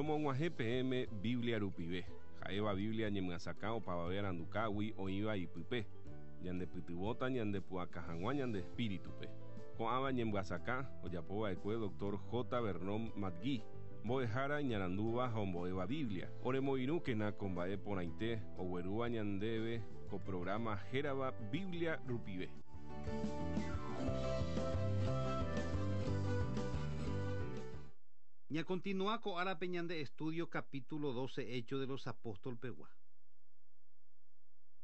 Romog̃uahẽ peẽme Biblia rupive, ha'éva Biblia ñemyasakã opavave arandukágui oĩva ipype, ñandepytyvõta ñandepu'aka hag̃ua ñande espíritupe. Ko'ãva ñemyasakã ojapova'ekue Doctor J. Vernon McGee, mbo'ehára iñarandúva ha ombo'éva Biblia. Oremoirũkena ko mba'e porãite oguerúva ñandéve ko programa hérava Biblia rupive. Ñakontinua ko árape ñande estudio capítulo 12 Hechos de los Apóstol pegua.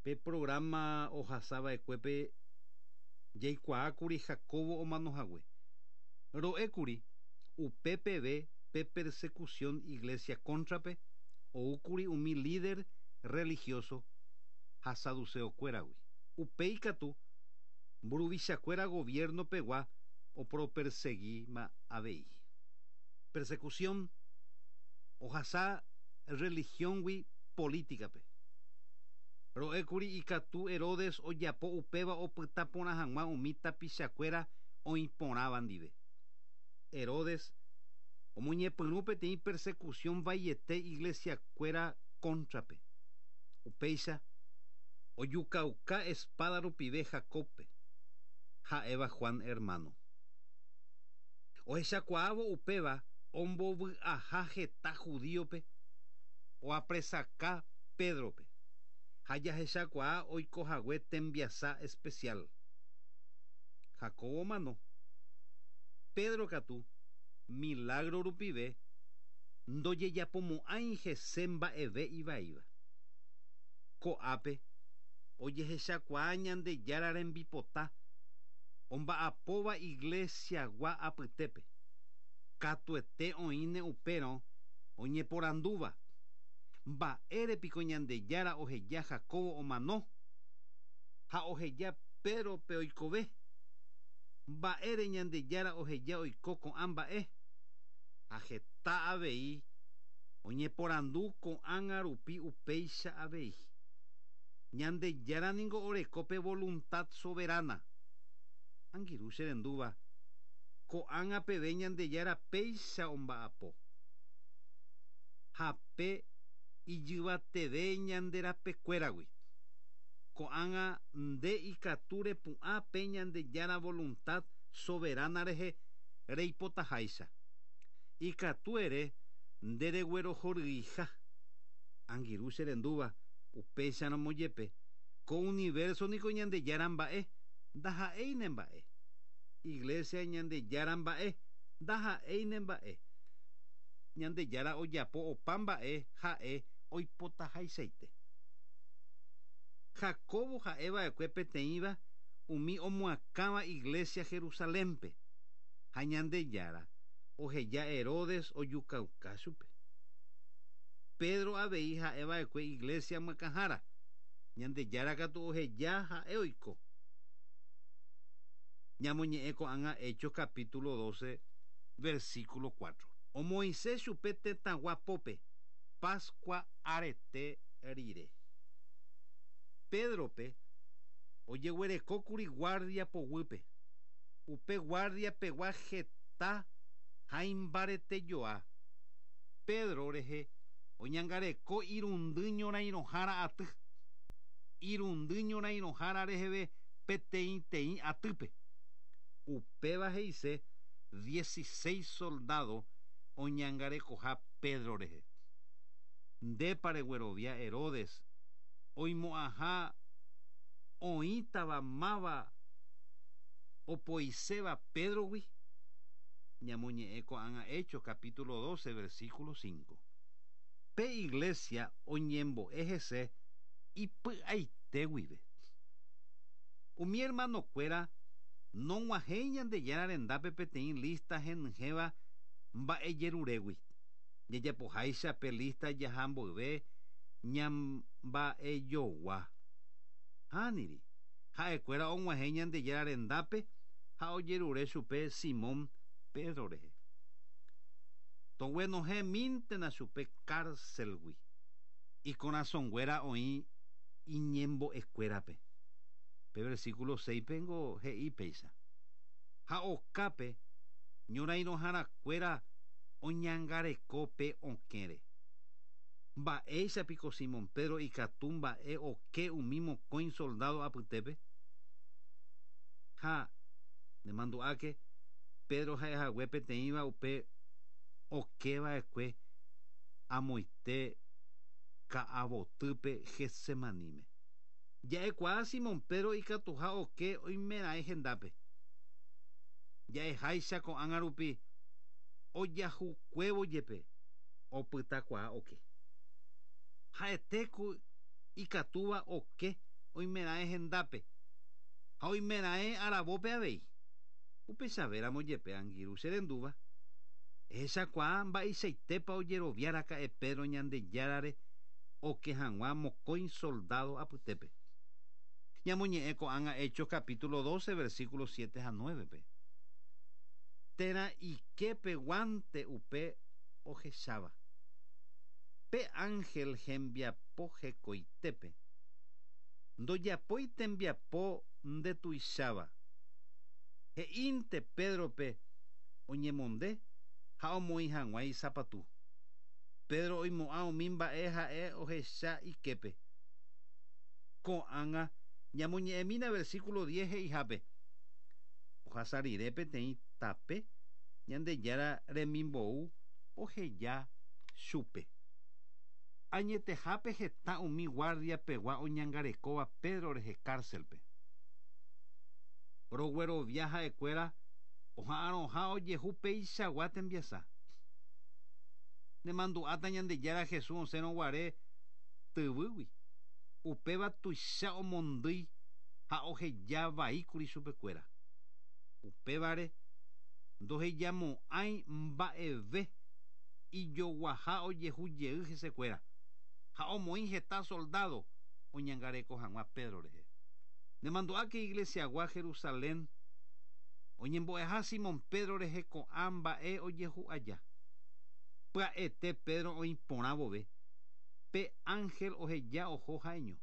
Pe programa ohasava'ekuépe jaikuaákuri Jacobo omanohague. Ro'ékuri upe peve pe persecución iglesia cóntrape oúkuri umi líder religioso ha saduceokuéragui. Upéi katu mburuvichakuéra gobierno pegua oporoperseguíma avei. Persecución ohasa religión-gui política-pe. Ro'ékuri ikatu Herodes ojapo upéva opyta porã hag̃ua umi tapichakuéra oĩ porãva ndive. Herodes omoñepyrũ peteĩ persecución vaiete iglesia-kuéra cóntrape. Upéicha, ojukauka espada rupive Jacóbpe, ha'éva Juan hermano. Ohechakuaávo upéva ombovy'aha heta judíope, oapresaka Pédrope, ha jahechakuaa oikohague tembiasa especial. Jacobo omano. Pedro katu, milagro rupive, ndojejapomo'ãi hese mba'eve ivaíva. Ko'ápe ojehechakuaa Ñandejára rembipota omba'apóva iglesia-gua apytépe. Katuete oĩne upérõ oñeporandúva, Mba'ére piko Ñandejára oheja Jacobo omano ha oheja Pédrope oikove? Mba'ére Ñandejára oheja oiko ko'ã mba'e? Ha heta avei oñeporandu ko'ág̃a rupi upéicha avei. Ñandejára ningo oreko pe voluntad soberana. Angirũ che rendúva, ko'ág̃a peve Ñandejára péicha omba'apo. Ha pe ijyvateve ñande rapekuéragui. Ko'ág̃a nde ikatu repu'ã pe Ñandejára voluntad soberana rehe reipotaháicha. Ikatu ere nde reguerohoryiha. Angirũ che rendúva, upéicharamo jepe, ko universo niko Ñandejára mba'e, ndaha'éi ne mba'e. Iglesia Ñandejára mba'e, ndaha'éi ne mba'e. Ñandejára ojapo opa mba'e ha'e oipotahaichaite. Jacobo ha'e va'ekue peteĩva umi omoakãva iglesia Jerusalénpe, ha Ñandejára oheja Herodes ojukauka chupe. Pedro avei ha'e va'ekue iglesia myakãhára, Ñandejára katu oheja ha'e oiko. Ñamoñe'ẽ ko'ág̃a Hechos capítulo 12, versículo 4. Omoĩse chupe tetãgua pópe, Pascua arete rire. Pédrope ojeguerekókuri guardia poguýpe. Upe guardia pegua heta ha imbaretejoa. Pedro rehe oñangareko irundy ñorairõhára aty. Irundy ñorairõhára reheve peteĩteĩ atýpe. Upéva he'ise dieciséis soldádo oñangarekoha Pedro rehe. Ndépa reguerovia Herodes oimo'ãha oĩtava máva opoiséva Pédrogui? Ñamoñe'ẽ ko'ág̃a Hechos capítulo 12 versículo 5. Pe iglesia oñembo'e hese ipy'aite guive. Umi hermanokuéra nog̃uahẽi Ñandejára rendápe peteĩ lista henyhẽva mba'ejerurégui. Jajapoháicha pe lista jaha mboyve ñamba'ejogua. Hániri, ha'ekuéra og̃uahẽ Ñandejára rendápe ha ojerure chupe Simón Pedro rehe. Toguenohẽmíntena chupe cárcel-gui. Ikorasõnguéra oĩ iñembo'ekuérape. Pe versículo 6-pe ngo he'i péicha. Ha okápe ñorairõharakuéra Oñangareko pe okẽre. Mba'éichapiko Simón Pedro ikatu mba'e oke umi mokõi soldado apytépe? Ha, nemandu'áke, Pedro ha'ehague peteĩva upe okeva'ekue amoite ka'avotýpe Getsemaníme. Ja'ekuaa Simón Pedro ikatuha oke oimeraẽ hendápe. Ja'eháicha ko'ág̃a rupi ojahukuévo jepe opytakuaa oke. Ha'ete ku ikatúva oke oimeraẽ hendápe ha oimeraẽ aravópe avei. Upechavéramo jepe angirũ che rendúva, ehechakuaa mba'eichaitépa ojerovia raka'e Pedro Ñandejárare oke hag̃ua mokõi soldádo apytépe. Ñamoñe'ẽ ko'ág̃a Hechos capítulo 12, versículo 7 ha 9-pe. Térã ike peguánte upe ohecháva. Pe ángel hembiapo hekoitépe. Ndojapói tembiapo ndetuicháva. He'ínte Pédrope oñemonde ha omoĩ hag̃ua isapatu. Pedro oimo'ã umi mba'e ha'e ohecha iképe. Ko'ág̃a ñamoñe'ẽmína versículo diez he'ihápe, Ohasa rire peteĩ tape Ñandejára remimbou oheja chupe. Añetehápe heta umi guardia pegua oñangarekóva Pedro rehe cárcelpe. Roguerovia ha'ekuéra oha'arõha ojehu peichagua tembiasa. Nemandu'áta Ñandejára Jesús osẽrõ guare tyvýgui, upéva tuicha omondýi ha oheja vaíkuri chupekuéra. Upévare ndohejamo'ãi mba'eve ijoguaha ojehu jey hesekuéra, ha omoĩ heta soldádo oñangareko hag̃ua Pedro rehe. Nemandu'áke iglesiagua Jerusalén oñembo'eha Simón Pedro rehe ko'ã mba'e ojehu aja. Pya'ete Pedro oĩ porã vove, pe ánhel oheja oho ha'eño.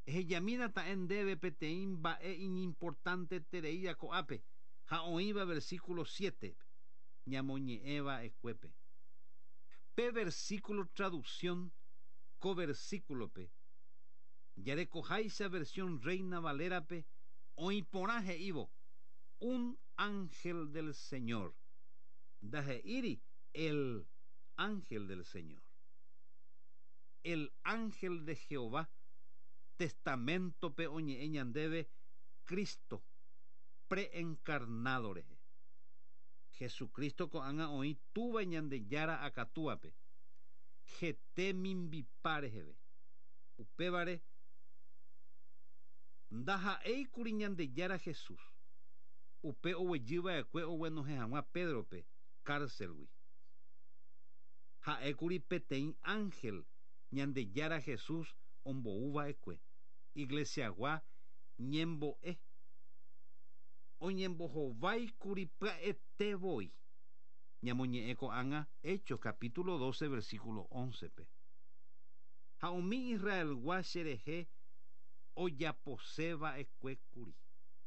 Ehejamína ta'e ndéve peteĩ mba'e iñimportantetereíva ko'ápe ha oĩva versículo siétepe, ñamoñe'ẽ va'ekuépe. Pe versículo traducción ko versículope, jarekoháicha versión Reina Valera-pe oĩ porã he'ívo, Un ángel del Señor, ndahe'íri el ángel del Señor. El ángel de Jehová Testamento-pe oñe'ẽ ñandéve Cristo preencarnado rehe. Jesucristo ko'ág̃a oĩ Túva Ñandejára akatúape, hete mimbipa reheve. Upévare, ndaha'éikuri Ñandejára Jesús, upe oguejyva'ekue oguenohẽ hag̃ua Pédrope kárselgui. Ha'ékuri peteĩ ánhel Ñandejára Jesús ombouva'ekue. Iglesiagua ñembo'e oñembohováikuri pya'ete voi. Ñamoñe'ẽ ko'ág̃a Hechos capítulo 12 versículo 11-pe. Ha umi Israelgua cherehe ojapose va'ekue kuri.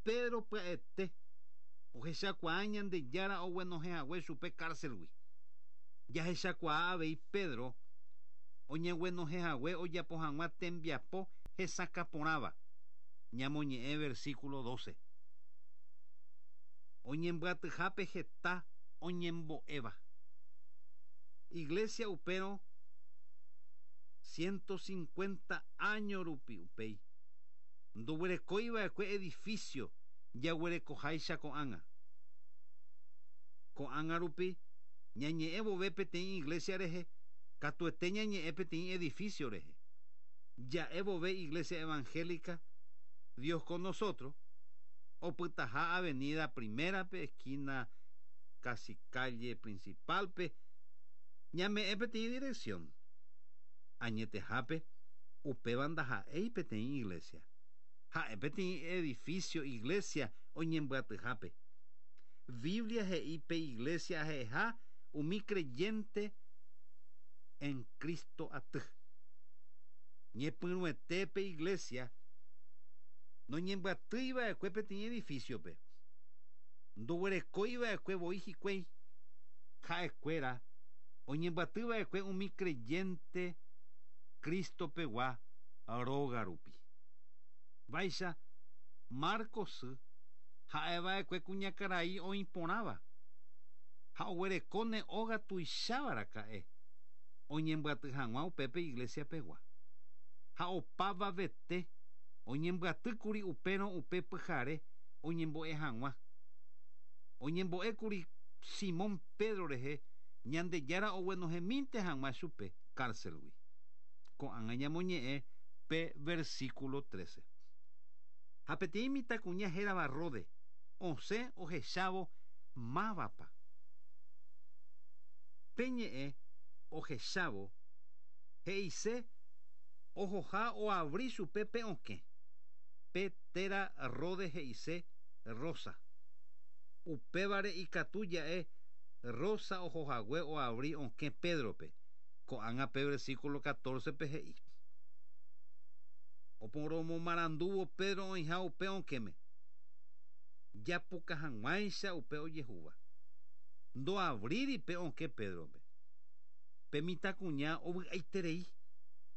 Pedro pya'ete ohechakuaa Ñandejára oguenohẽ hague chupe kárselgui. Jahechakuaa avei Pedro oñeguenohẽ hague ojapo hag̃ua tembiapo hesakã porãva, ñamoñe'ẽ versículo 12. Oñembyatyhápe heta oñembo'éva. Iglesia upérõ ciento cincuenta áño rupi upéi, ndoguerekói va'ekue edificio jaguerekoháicha ko'ág̃a. Ko'ág̃a rupi ñañe'ẽ vove peteĩ iglesia rehe, katuete ñañe'ẽ peteĩ edificio rehe. Ja'e vove Iglesia Evangélica Dios con Nosotros, opytaha avenida Primera-pe, esquina casi calle Principal-pe, ñame'ẽ peteĩ dirección. Añetehápe, upéva ndaha'éi peteĩ iglesia. Ha'e peteĩ edificio iglesia oñembyatyhápe. Biblia he'i pe iglesia ha'eha umi creyente en Cristo aty. Ñepyrũete pe iglesia noñembyatýi va'ekue peteĩ edificio-pe. Ndoguerekói va'ekue voi hikuái. Ha'ekuéra oñembyatyva'ekue umi creyente Cristo-pegua róga rupi. Vaicha Marcos sy ha'eva'ekue kuñakarai oĩ porãva ha oguerekóne óga tuicháva raka'e oñembyaty hag̃ua upépe iglesia-pegua. Ha opavavete oñembyatýkuri upérõ upe pyhare oñembo'e hag̃ua. Oñembo'ékuri Simón Pedro rehe Ñandejára oguenohẽmínte hag̃ua chupe cárcel-gui. Ko'ág̃a ñamoñe'ẽ pe versículo 13. Ha peteĩ mitãkuña hérava Rode osẽ ohechávo mávapa. Pe ñe'ẽ ohechávo he'ise ohoha oavri chupe pe okẽ. Pe téra Rode he'ise Rosa. Upévare ikatu ja'e Rosa ohohague oavri okẽ Pédrope. Ko'ág̃a pe versículo 14-pe he'i. Oporomomarandúvo Pedro oĩha upe okẽme, japuka hag̃uáicha upe ojehúva. Ndoavríri pe okẽ Pédrope. Pe mitãkuña ovy'aiterei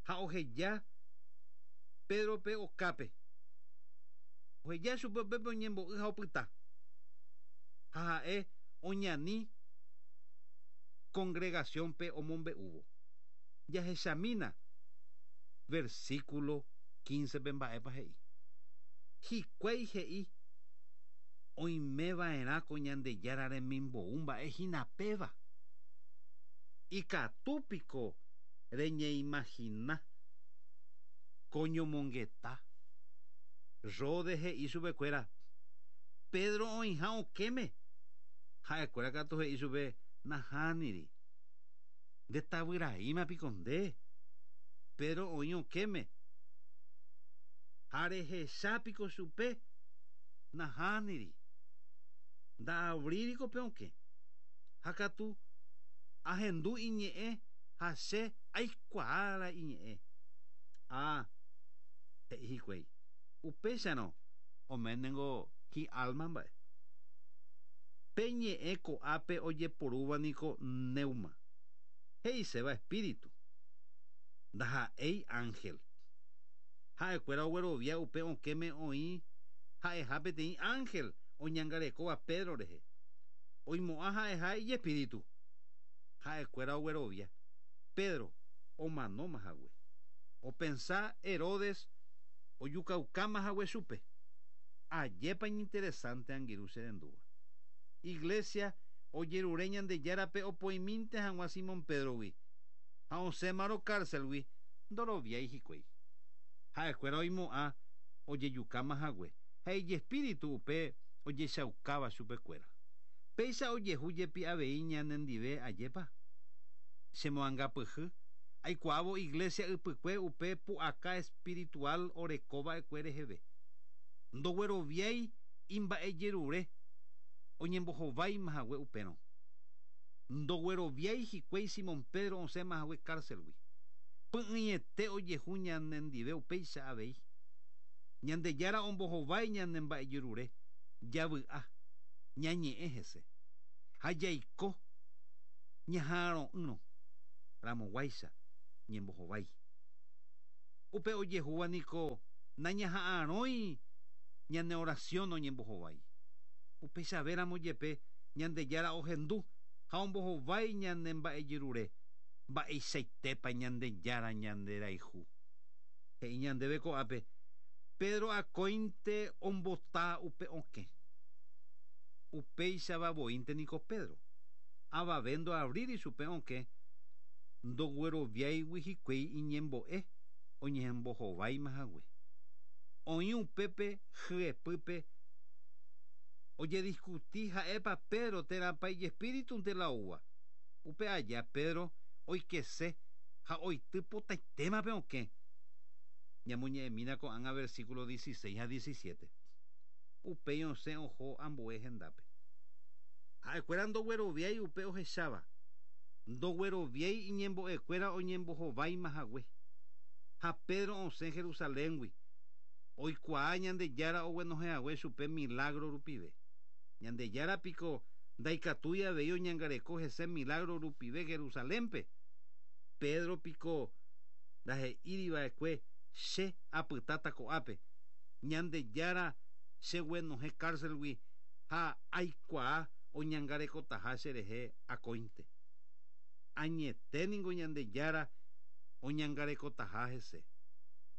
ha oheja Pédrope okápe. Oheja chupe upépe oñembo'y ha opyta. Ha ha'e oñani congregación-pe omombe'úvo. Jahechamína versículo 15-pe mba'épa he'i. Hikuái he'i oimeva'erã ko Ñandejára remimbou mba'e hína péva. Ikatu piko reñeimagina ko ñomongeta. Rode he'i chupekuéra, Pedro oĩha okẽme. Ha'ekuéra katu he'i chupe, Nahániri. Nde tavyraíma piko nde? Pedro oĩ okẽme. Ha rehecha piko chupe? Nahániri. Nda'avríri ko pe okẽ. Ha katu ahendu iñe'ẽ ha che aikuaa la iñe'ẽ. Ah, he'i hikuái. Upéicharõ oménengo hi'álma mba'e. Pe ñe'ẽ ko'ápe ojeporúva niko pneuma, he'iséva espíritu, ndaha'éi ángel. Ha'ekuéra oguerovia upe okẽme oĩ ha'eha peteĩ ángel oñangarekóva Pedro rehe. Oimo'ã ha'eha ijespíritu. Ha'ekuéra oguerovia Pedro omanóma hague. Opensa Herodes ojukaukáma hague chupe. Ajépa iñinteresante angirũ che rendúva. Iglesia ojerure Ñandejárape opoimínte hag̃ua Simón Pedro-gui, ha osẽmarõ cárcel-gui ndoroviái hikuái. Ha'ekuéra oimo'ã ojejukáma hague ha ijespíritu upe ojechaukáva chupekuéra. Péicha ojehu jepi avei ñanendive ajépa? Chemoangapyhy aikuaávo iglesia ypykue upe pu'aka espiritual orekova'ekue reheve. Ndogueroviái imba'ejerure oñembohováima hague upérõ. Ndogueroviái hikuái Simón Pedro osẽma hague cárcel-gui. Py'ỹiete ojehu ñanendive upéicha avei. Ñandejára ombohovái ñane mba'ejerure, javy'a, ñañe'ẽ hese, ha jaiko ñaha'arõ'ỹrõ ramoguáicha ñembohovái. Upe ojehúva niko nañaha'arõi ñane oración oñembohovái. Upeichavéramo jepe Ñandejára ohendu ha ombohovái ñane mba'ejerure, mba'eichaitépa Ñandejára ñanderayhu. He'i ñandéve ko'ápe, Pedro akóinte ombota upe okẽ. Upéichava voínte niko Pedro. Avave ndoavríri chupe okẽ ndogueroviáigui hikuái iñembo'e oñembohováima hague. Oĩ upépe hyepýpe ojediskuti ha'épa Pedro térãpa ijespíritunte la oúva. Upe aja Pedro oikese ha oity potaitéma pe okẽ. Ñamoñe'ẽmína ko'ág̃a versículo 16 ha 17. Upéi osẽ oho ambue hendápe. Ha'ekuéra ndogueroviái upe ohecháva, ndogueroviái iñembo'ekuéra oñembohováima hague. Ha Pedro osẽ Jerusaléngui, oikuaa Ñandejára oguenohẽ hague chupe milagro rupive. Ñandejára piko Ndaikatúi avei oñangareko hese milagro rupive Jerusalénpe. Pedro piko ndahe'íriva'ekue che apytáta ko'ápe. Ñandejára cheguenohẽ cárcelgui ha aikuaa oñangarekotaha cherehe akóinte. Añete ningo Ñandejára oñangarekotaha hese.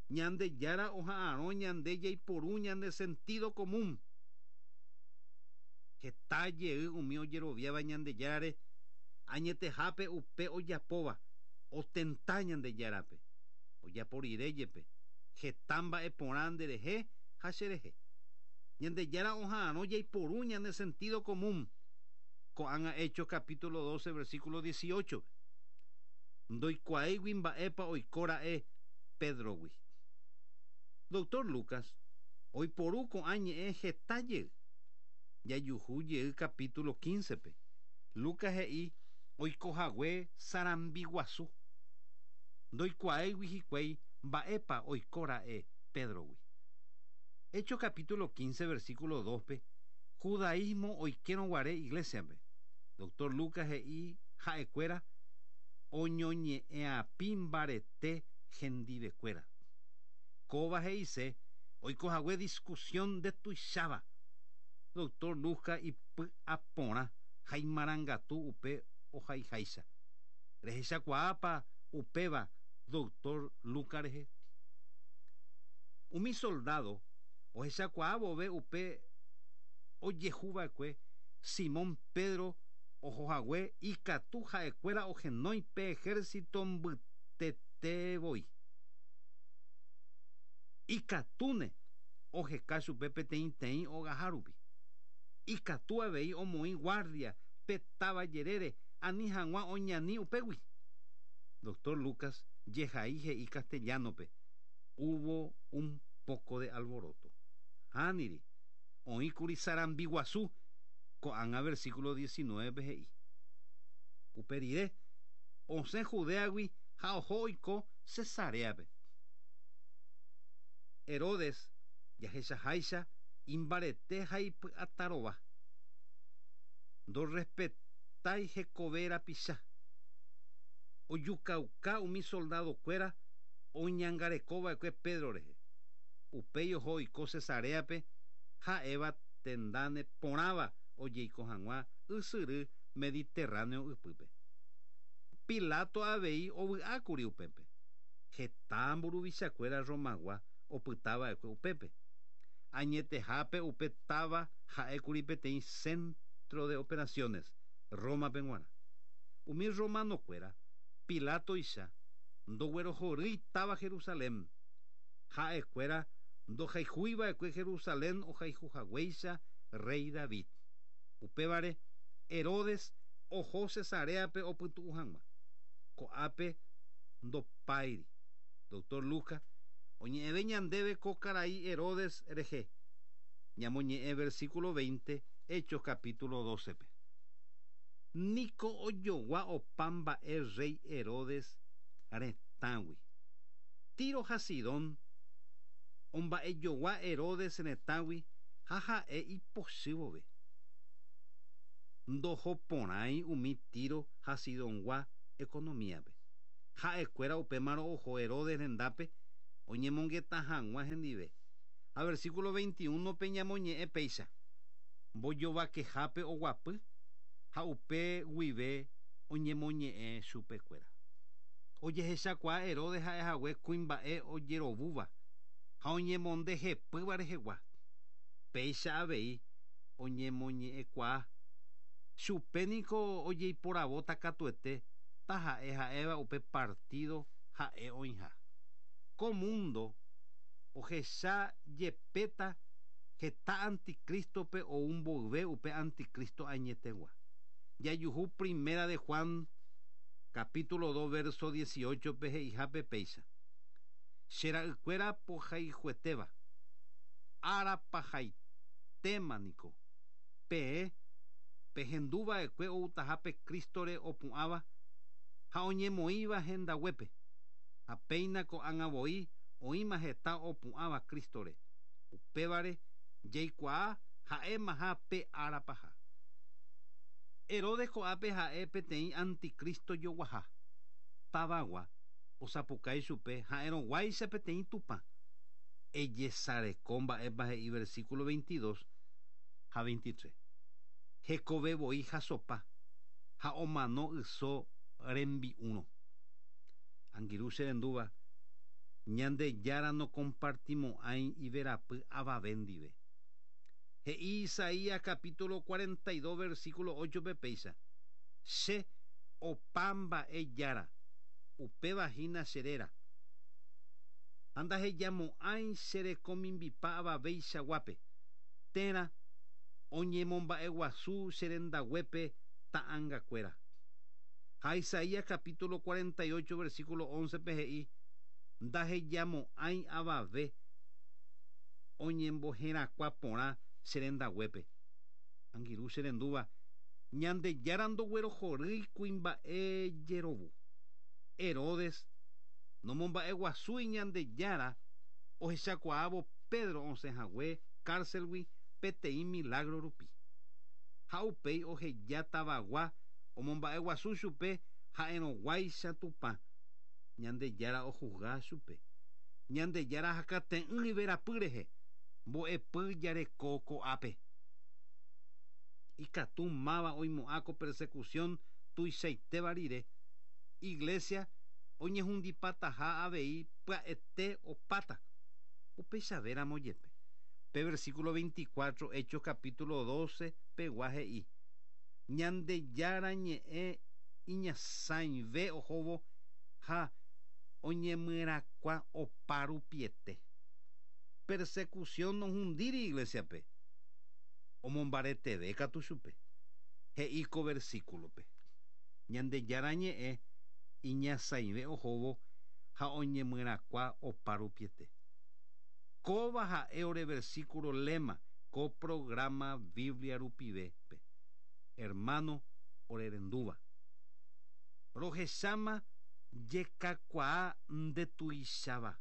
Ñandejára oha'arõ ñande jaiporu ñande sentido común. Heta jey umi ojeroviáva Ñandejárare añetehápe upe ojapóva otenta Ñandejárape. Ojapo rire jepe heta mba'e porã nderehe ha cherehe. Ñandejára oha'arõ jaiporu ñande sentido común. Ko'ág̃a Hechos capítulo 12 versículo 18. Ndoikuaáigui mba'épa oiko ra'e Pédrogui. Doctor Lucas oiporu ko'ã ñe'ẽ heta jey. Jajuhu jey capítulo 15-pe. Lucas he'i oikohague sarambi guasu. Ndoikuaáigui hikuái mba'épa oiko ra'e Pédrogui. Hechos capítulo 15 versículo 2-pe judaísmo oikérõ guare iglesia-pe. Doctor Lucas he'i ha'ekuéra oñoñe'ẽapi mbarete hendivekuéra. Kóva he'ise oikohague discusión ndetuicháva. Doctor Lucas ipy'aporã ha imarangatu upe ohaiháicha. Rehechakuaápa upéva Doctor Lucas rehe? Umi soldado ohechakuaa vove upe ojehuva'ekue Simón Pedro ohohague ikatu ha'ekuéra ohenói pe ejército mbytete voi. Ikatúne oheka chupe peteĩteĩ ogaha rupi. Ikatu avei omoĩ guardia pe táva jerére ani hag̃ua oñani upégui. Doctor Lucas jehai he'i castellano-pe, Hubo un poco de alboroto. Hániri, oĩkuri sarambi guasu, ko'ág̃a versículo 19-pe he'i. Upe rire, osẽ Judéagui ha oho oiko Cesaréape. Herodes, jahechaháicha, imbarete ha ipy'atarova. Ndorrespetái hekove rapicha. Ojukauka umi soldadokuéra oñangarekova'ekue Pedro rehe. Upéi oho oiko Cesaréape, ha'éva tenda neporãva ojeiko hag̃ua ysyry Mediterráneo ypýpe. Pilato avei ovy'ákuri upépe. Heta mburuvichakuéra Romagua opytava'ekue upépe. Añetehápe upe táva ha'ékuri peteĩ centro de operaciones Rómape g̃uarã. Umi romanokuéra, Pilátoicha, ndoguerohorýi táva Jerusalén. Ha'ekuéra ndohayhúiva'ekue Jerusalén ohayhuhaguéicha rréi David. Upévare, Herodes oho Cesaréape opytu'u hag̃ua. Ko'ápe ndopáiri. Doctor Lucas oñe'ẽve ñandéve ko karai Herodes rehe. Ñamoñe'ẽ versículo 20 Hechos capítulo 12-pe. Niko ojogua opa mba'e rréi Herodes retãgui. Tiro ha Sidón omba'ejogua Herodes retãgui ha ha'e ipochy vove. Ndohoporãi umi Tiro ha Sidongua economíape. Ha'ekuéra upémarõ oho Herodes rendápe oñemongeta hag̃ua hendive. Ha versículo 21-pe ñamoñe'ẽ péicha, Mbojovakehápe oguapy ha upe guive oñemoñe'ẽ chupekuéra. Ojehechakuaa Herodes ha'ehague kuimba'e ojerovúva ha oñemonde hepýva rehegua. Péicha avei oñemoñe'ẽkuaa. Chupe niko ojeiporavóta katuete taha'e ha'éva upe partído ha'e oĩha. Ko múndo ohecha jepéta heta anticrístope ou mboyve upe anticristo añetegua. Jajuhu Primera de Juan capítulo 2 verso 18-pe he'ihápe péicha, Che ra'ykuéra pohayhuetéva, ára pahaitéma niko, peẽ pehenduva'ekue outaha pe Crístore opu'ãva ha oñemoĩva hendaguépe, ha péina ko'ág̃a voi oĩma heta opu'ãva Crístore, upévare jaikuaa ha'émaha pe ára paha. Herodes ko'ápe ha'e peteĩ anticristo joguaha. Tavagua osapukái chupe ha'erõguáicha peteĩ Tupã. Ejesareko mba'épa he'i versículo 22 ha 23. Hekove voi hasopa ha omano yso rembi'úrõ. Angirũ che rendúva, Ñandejára nokompartimo'ãi iverapy avave ndive. He'i Isaías capítulo 42 versículo 8-pe péicha, Che, opa mba'e Jára, upéva hína che réra. Ha ndahejamo'ãi che rekomimbipa avaveichaguápe, térã oñemomba'eguasu che rendaguépe ta'angakuéra. Ha Isaías capítulo 48 versículo 11-pe he'i, Ndahejamo'ãi avave oñemboherakuã porã che rendaguépe. Angirũ che rendúva, Ñandejára ndoguerohorýi kuimba'e jerovu. Herodes nomomba'eguasúi Ñandejára ohechakuaávo Pedro osẽ hague kárselgui peteĩ milágro rupi. Ha upéi oheja tavagua omomba'eguasu chupe ha'erõguáicha Tupã. Ñandejára ohusga chupe. Ñandejára hakate'ỹ iverapy rehe, mbo'epy jareko ko'ápe. Ikatu máva oimo'ã ko persecución tuichaitéva rire, Iglesia oñehundipataha avei pya'ete opáta. Upeichavéramo jepe, pe versículo 24 Hechos capítulo 12 pegua he'i, Ñandejára ñe'ẽ iñasãive ohóvo ha oñemyerakuã opa rupiete. Persecución nohundíri Iglesia-pe, omombareteve katu chupe. He'i ko versículo-pe, Ñandejára ñe'ẽ iñasãive ohóvo ha oñemyerakuã opa rupiete. Kóva ha'e ore versículo lema ko programa Biblia rupive-pe. Hermano orerendúva. Rohecháma jekakuaa ndetuicháva.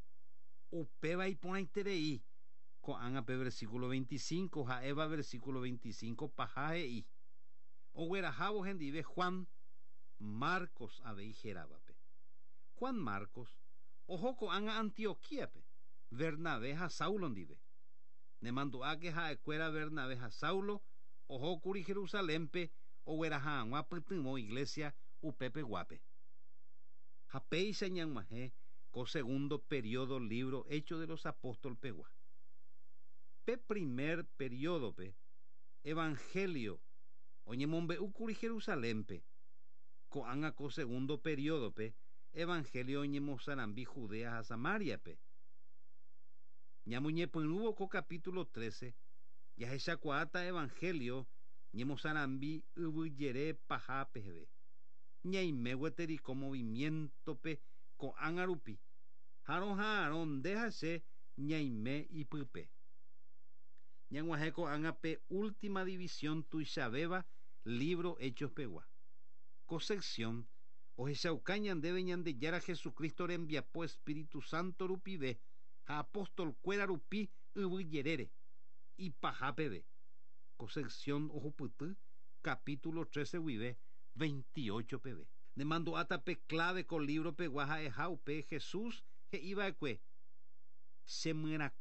Upéva iporãiterei. Ko'ág̃a pe versículo 25 ha'éva versículo 25 paha he'i, Oguerahávo hendive Juan, Marcos avei héravape. Juan Marcos oho ko'ág̃a Antioquíape, Bernabé ha Saulo ndive. Nemandu'áke ha'ekuéra Bernabé ha Saulo ohókuri Jerusalénpe ogueraha hag̃ua pytyvõ iglésia upepeguápe. Ha péicha ñag̃uahẽ ko segundo periodo lívro Hechos de los Apóstoles pegua. Pe primer periodo-pe, Evangelio oñemombe'úkuri Jerusalénpe. Ko'ág̃a ko segundo periodo-pe, Evangelio oñemosarambi Judea ha Samaria-pe. Ñamoñepyrũvo ko capítulo 13, jahechakuaáta Evangelio ñemosarambi yvyjere paha peheve. Ñaime gueteri ko movimiento-pe ko'ág̃a rupi, ha roha'arõ nde ha che ñaime ipype. Ñag̃uahẽ ko'ág̃a pe última división tuichavéva lívro Hechos pegua. Ko sección ohechauka ñandéve Ñandejára Jesucristo rembiapo Espíritu Santo rupive ha apóstol-kuéra rupi yvy jerére, ipaha peve. Ko sección ohupyty capítulo 13 guive 28 peve. Nemandu'áta pe clave ko lívro pegua ha'eha upe Jesús he'iva'ekue, Chemyerakuã.